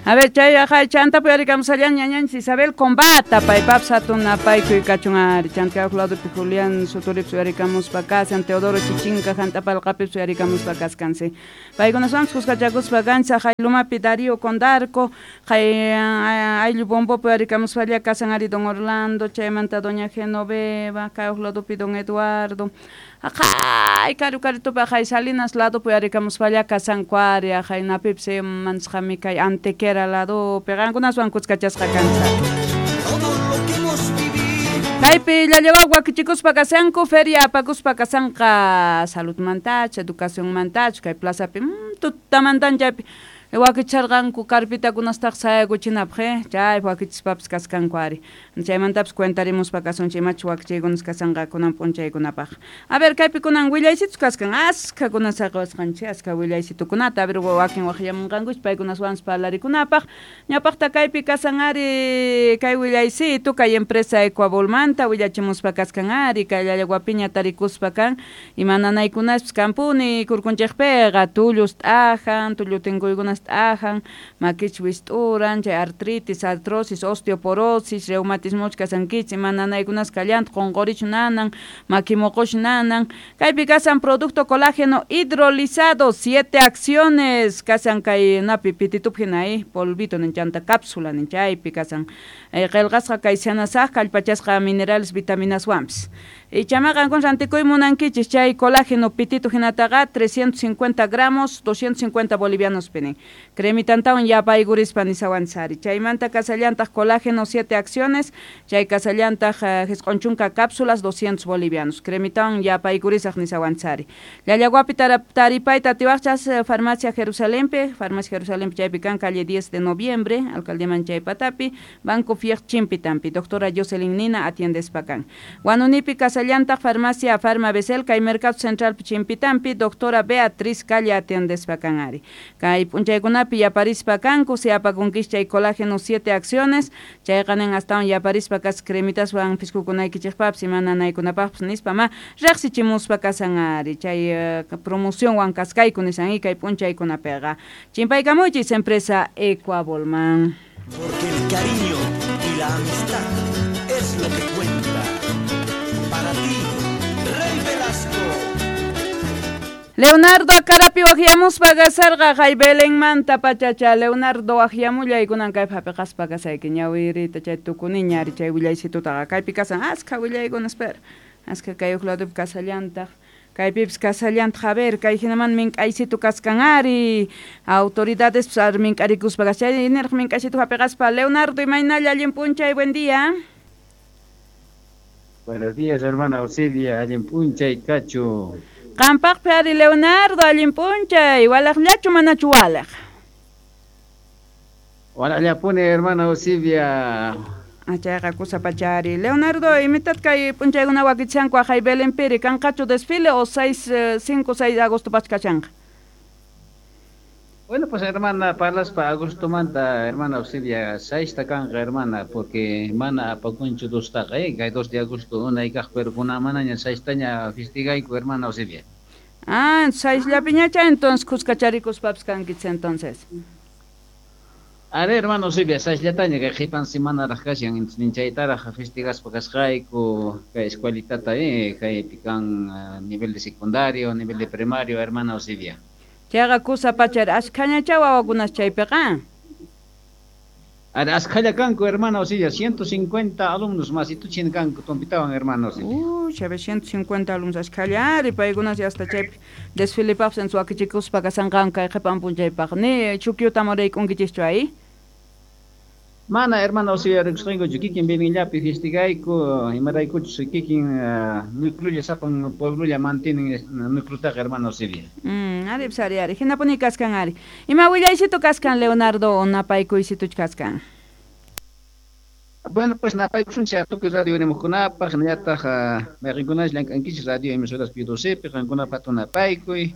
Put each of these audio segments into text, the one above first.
A ver, chay ajay chanta puyarikamusallan ñañanchis Isabel Combata, paypapis hatun napaykuy kachun ari. Chanta kay ladopi Julián Suturipis uyarikamuspa kasan, Teodoro Chichinka Jantapalqapipis uyarikamuspa kaskansi. Paykunaswanpis kuskachakuspa kanchis ajay Lumapi Darío Condarco, kay ayllu Bombopi uyarikamuspalla kasan ari don Orlando, chaymanta doña Genoveva, kay ladopi don Eduardo. Ajay, karu karitupi ajay Salinas ladopi uyarikamuspalla kasanku ari, ajay napipis mansqami kay Antequera ladopi, qankunaswan kuskachasqa kanchis. Kaypi llallawaw wakichikuspa kasanku, feria apakuspa kasanqa saludmantachu, educacionmantachu, kay plazapi tutamantan chaypi wakicharqanku carpitakunastaq sayakuchinapaq, chaypi wakichispapis kaskanku ari. Chaymantapis cuentarimuspa kasunchik imachus wakichiykunas kasanqa kunan p'unchaykunapaq. A ver, kaypi kunan willaysitus kaskan, askha saqiwasqanchik, askha willaysitukunata, a ver wakin waqyamunqankuch paykunaswanpis parlarikunapaq. Ñawpaqta kaypi kasan ari kay willaysitu, kay empresa Ecuabolmanta willachimuspa kaskan ari, kay llallawapiña tarikuspa kan, ima nanaykunaspis kanpuni kurkunchikpiqa, tullus t'ajan, tullu tinkuykunas t'ajan, makich wist'uran, chay artritis, artrosis, osteoporosis, reumatismoch kasankichik, ima nanaykunas kallantaq, qunqurichu nanan, maki muqush nanan. Kaypi kasan producto colágeno hidrolizado, 7 acciones, kasan kay napi pititup hina, polvito nin, chanta cápsula nin, chaypi kasan. Qillqasqa kay sanasaq kallpachasqa minerales vitaminaswanpis. Ichamaqa qankuna rantikuy munankichis chay colágeno pitito hinataqa 350 gramos, 250 bolivianos pinin. Cremitantawan yapaykurispa nisawanchis ari. Chaymanta kasallantaq colágeno 7 acciones, chay kasallantaq jisq'un chunka cápsulas 200 bolivianos. Cremitawan yapaykurisaq nisawanchis ari. Llallawapi taripayta atiwaqchas Farmacia Jerusalempi, Farmacia Jerusalempi chaypi kan calle 10 de noviembre, alcaldía Manchay Patapi, Banco Fiej Chimpitampi. Doctora Jocelyn Nina atiendespa kan. Huanunipi kasallantaq Farmacia Farma Besel, kay Mercado Central Chimpitampi, doctora Beatriz Calle atiendespa kan ari. Kay p'unchaykunapi yaparispa kanku, si apakunkis chay colágeno 7 acciones, chayqa nin astawan yaparispa kas cremitaswan piskukunaykichikpapis ima nanaykunapaqpis nispa ma riqsichimuspa kasan ari, chay promocionwan kaskayku nisan kay p'unchaykunapiqa. Chimpaykamuychis empresa Ecuabolman. Porque el cariño y la amistad es lo que cuenta. Para ti, Rey Velasco. Leonardo Acarapi waqyamuspa kasarqa kay Belenmanta pachacha. Leonardo waqyamullay kunan kaypi hapiqaspa kasayki ñawirita chay tukuniña ari chay willaysitutaqa kaypi kasan askha willaykuna espera. Askha kay huk ladopi kasallantaq. Kaypipis kasallantaq, a ver, kay hinaman mink'aysitu kaskan ari. Autoridades ar mink'arikuspa kashay niraq mink'aysitu hapiqaspa. Leonardo, imaynalla allin p'unchay, buen día. Buenos días, hermana Auxilia, allin p'unchay kachu. Qampaqpi ari Leonardo, allin p'unchay, walaqllachu manachu walaq? Walaqllapuni, hermana Auxilia. Chayqa kusa pachari. Leonardo, imitat kay p'unchaykuna wakichanku ajay Belenpiri, kanqachu desfile o 6, 5, 6 de agosto pachkachanqa? Bueno, pues hermana, parlaspa agosto manta, hermana Auxilia, 6 kanqa, hermana, porque mana apakunchu dostaqa, kay 2 de agosto unay kaq, pero kuna manaña 6taña festigayku, hermana Auxilia. Ah, 6 llapiñacha, entonces kuskacharikuspapis kankichis entonces. A ver, hermano Auxilia, 6llataña kay qhipan semanaraq kashan, entonces chaytaraq festigaspa kasqayku, kay escuelitata, kaypi kan nivel de secundario, nivel de primario, hermana Auxilia. Chayqa kusa pachari, askhañacha wawakunas chaypiqa. Askhalla kanku, hermana Auxilia, 150 alumnos más, y tuchin kanku tompitawan, hermana Auxilia. Uy, chabe 150 alumnos askhalla ari, paykunas hasta chaypi desfilepaqpis wakichikuspa kasanqanku kay qhipan p'unchaypaq. Ni chukyuta muraykunkichischu ahí? Mana, hermana Auxilia, rikusqaykuchu, kikin Belenllapi festigayku, imaraykuchus kikin núcleolla sapan pueblolla mantienen núcleotaqa, hermana Auxilia. Ari, pues, ari, ari. Hinapuni kaskan ari. Ima willaysitu kaskan, Leonardo, napaykuysitu kaskan? Bueno, pues napaykusunchik tukuy radio rimuqkunapaq, hinallataq mayqinkunash llank'ankichis radio emisoras P2C, qankunapaq hatun napaykuy,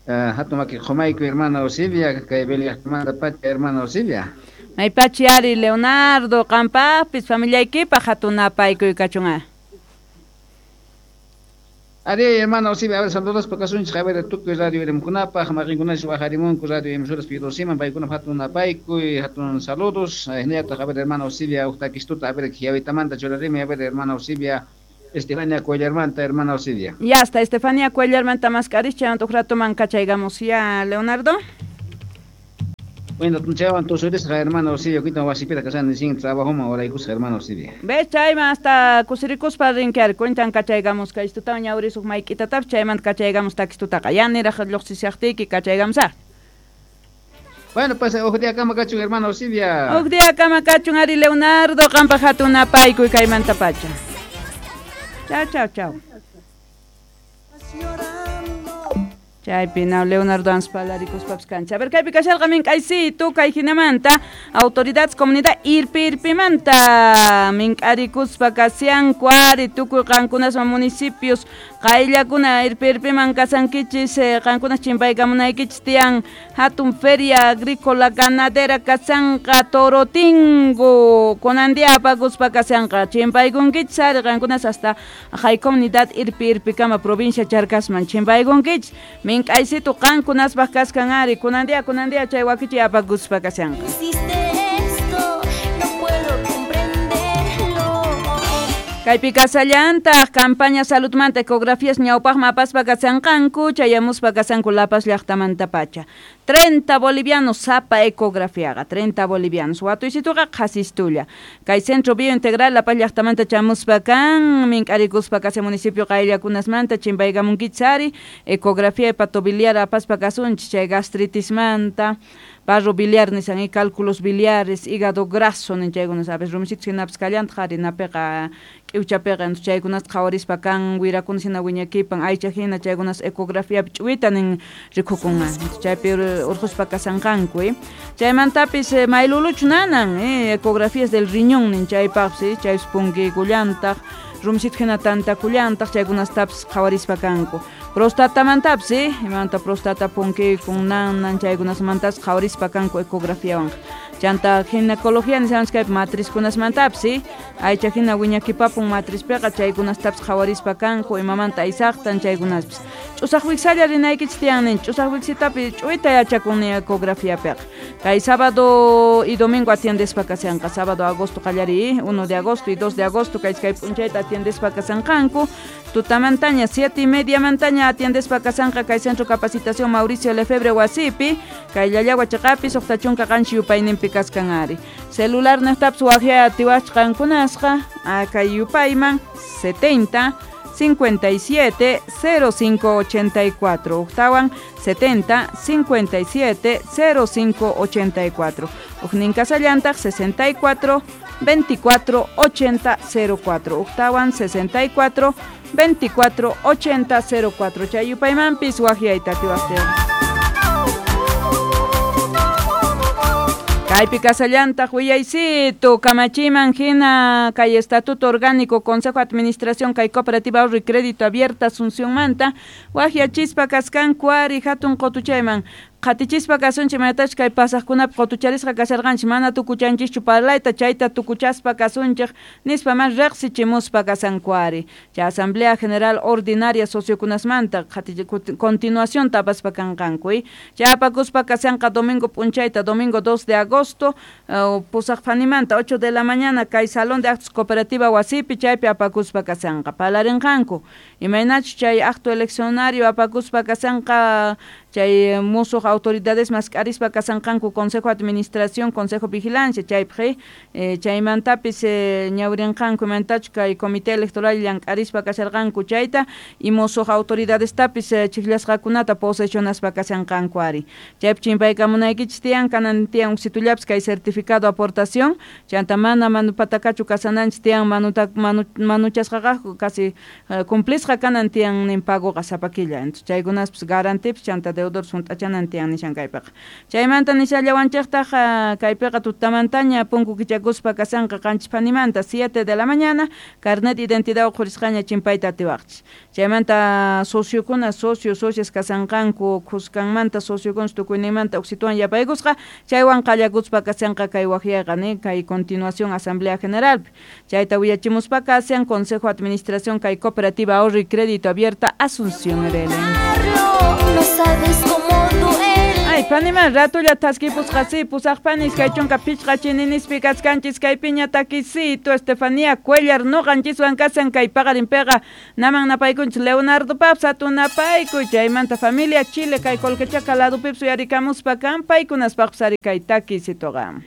hatun maki qhumaykuy, hermana Auxilia, kay Belén llaqtamanta pacha, hermana Auxilia. Maypachi ari, Leonardo, qampaqpis familiaykipaq hatun napaykuy kachun. Ari, hermano, sí, a ver, saludos pa kasunchik, a ver, tukuy radio irimkunapaj, maqinkunash wajarimunku radio emisoras Pirosiman, paykuna hatun napaykuy, hatun saludos, hinallataq, a ver, hermano, Osibia, uqtakistuta, a ver, Jiavitamanta churarimi, a ver, hermano, Osibia, Estefania Cuellarmanta, hermana Osibia. Ya está, Estefania Cuellarmanta mascaris, chaymanta uj ratoman kachaygamos ya, Leonardo. Bueno, chaywan tusurisqa, hermano Osibia, kuitan wasipita kashan sin trabajoman oraykusqa, hermano Osibia. Ve, chayman hasta kusirikuspa rinki cuentan kachaygamos kaystutawan ñawrisuq mayk'itatapis chaymanta kachaygamos takistutaqa. Ya niraq lluqsishaqtiyki kachaygamos. Bueno, pues uj día kama kachun, hermano Osibia. Uj día kama kachun, ari Leonardo, qampaq hatun napaykuy kaymanta pacha. Chao, chao, chao. Chaypi na Leonardo Anspalarikuspapas kancha. A ver, kaypi kasharqa mink'aysitu kay hinamanta autoridades comunidad irpirpimanta mink'arikuspa kasyanku ari tukuy qankunasman municipios qayllakuna irpirpiman kasankichis qankunas chimpaykamunaykichis tiyan hatun feria agrícola ganadera kasanqa Torotingo kunan día apakuspa kasyanqa chimpaykunkichis ari qankunas hasta hay comunidad irpirpikama provincia Charcasman chimpaykunkichis mink'aysitu qankunaspaq kaskan ari kunan día chay wakichi apakuspa kasyanqa. Kaypi kasallantaq campaña saludmanta ecografías ñawpaqman apaspa kasanqanku chayamuspa kasanku La Paz llaqtamanta pacha. 30 bolivianos sapa ecografiaqa, 30 bolivianos. Watuysituqa qhasistulla. Kay Centro Biointegral La Paz llaqtamanta chamuspa kan, mink'arikuspa kase municipio qayllakunasmanta chimpaykamunkichis ari, ecografía hepatobiliar apaspa kasunchis chay gastritismanta, barro biliar nisan y cálculos biliares, hígado graso nin chaykuna sabes, rumisitus hinapis kallantaq ari napiqa k'iwchapiqa entonces chaykunata qhawarispa kan wirakuna hina wiñakipan aycha hina chaykunas ecografiapi ch'uwita nin rikukunman chaypi urquspa kasanqanku chaymantapis mayluluchu nanan ecografías del riñón nin chaypaqpis chaypis punkiykullantaq rumisitu hina tantakullantaq chaykunastapis qhawarispa kanku prostatamantapis imamanta prostata punkiykun nanan chaykunasmantas qhawarispa kanku ecografiawanqa chanta ginecología nisqanchis kaypi matrizkunasmantapis aycha hina wiñakipapun matrizpiqa chaykunastapis qhawarispa kanku imamanta aysaqtan chaykunaspis ch'usaq wiksalla rinaykichis tiyan nin ch'usaq wiksitapi ch'uyta yachakun ecografiapiqa kay sábado y domingo atiendespa kasyanqa sábado agosto qallariy 1 de agosto y 2 de agosto kay kay p'unchayta atiendespa kasanqanku tutamantaña 7:30 mantaña atiendespa kasanqa kay Centro Capacitación Mauricio Lefebvre wasipi kay Llallagua chaqapi 67 yupayninpi kaskan ari celular niqtapis waqya atiwachqa qankunasqa kay yupayman 70 57 05 84 uqtawan 70 57 05 84 uqnin kasallantaq 64 24 80 04 uqtawan 64 24 80 04 chay yupaymanpis waqyayta atiwaqtin. Kaypi kasallantaq willaysitu kamachiman hina kay Estatuto Orgánico Consejo de Administración kay Cooperativa Ahorro y Crédito Abierta Asunciónmanta waqyachispa kaskanku ari hatun qutuchayman Qatichispa kasunchik mayatachik kay pasaqkunapi qutucharisqa kasharqanchik mana tukuchanchischu parlayta chayta tukuchaspa kasunchik nispa mas riqsichimuspa kasanku ari chay Asamblea General Ordinaria sociokunasmanta continuación tapaspa kanqanku chay apakuspa kasanqa domingo p'unchayta domingo 2 de agosto pusaq phanimanta 8 de la mañana kay Salón de Actos Cooperativa wasipi chaypi apakuspa kasanqa parlarinqanku imaynachus chay acto eleccionario apakuspa kasanqa chay musuq autoridades mask'arispa kasanqanku Consejo de Administración, Consejo de Vigilancia chaypaq chaymantapis ñawrinqanku imantachu kay Comité Electoral llank'arispa kasharqanku chayta y musuq autoridadestapis chikllasqakunata posesionaspa kasanqanku ari chaypi chimpaykamunaykichis tiyan kanan tiyan uksitullapis kay certificado aportación chanta mana manupatakachu kasananchis tiyan manuchasqaqaqku casi cumplisqa kanan tiyan nin pagoqa sapa killa entonces chaykunaspis garantipis chanta Deudor hunt'achanan tiyan nishan kaypiqa. Chaymanta nishallawanchiktaj kaypiqa tutamantaña punku kichakuspa kasanqa 7 phanimanta 7 de la mañana carnet identidad uqhurisqaña chimpayta atiwaqchis. Chaymanta sociokuna socio socias kasanqanku khuskanmanta sociokuna tukuyninmanta uksituwan yapaykusqa chaywan qallakuspa kasanqa kay waqyayqa ni kay continuación asamblea generalpi. Chayta willachimuspa kasan Consejo de Administración kay Cooperativa Ahorro y Crédito Abierta Asunción RL. No sabes cómo duele. Ay, paniman ratulla thaskipusqa si pusaqpani 25 chininispi kachkanchis kaypiña takisito Estefanía Cuellar noqanchiswan kasan kay paqarinpiqa naman napaykunchis Leonardo Paps atunapayku chaymanta familia Chile kay Colquechaca ladupipis uyarikamuspa kan paykunaspaqpis ari kay takisitoqa.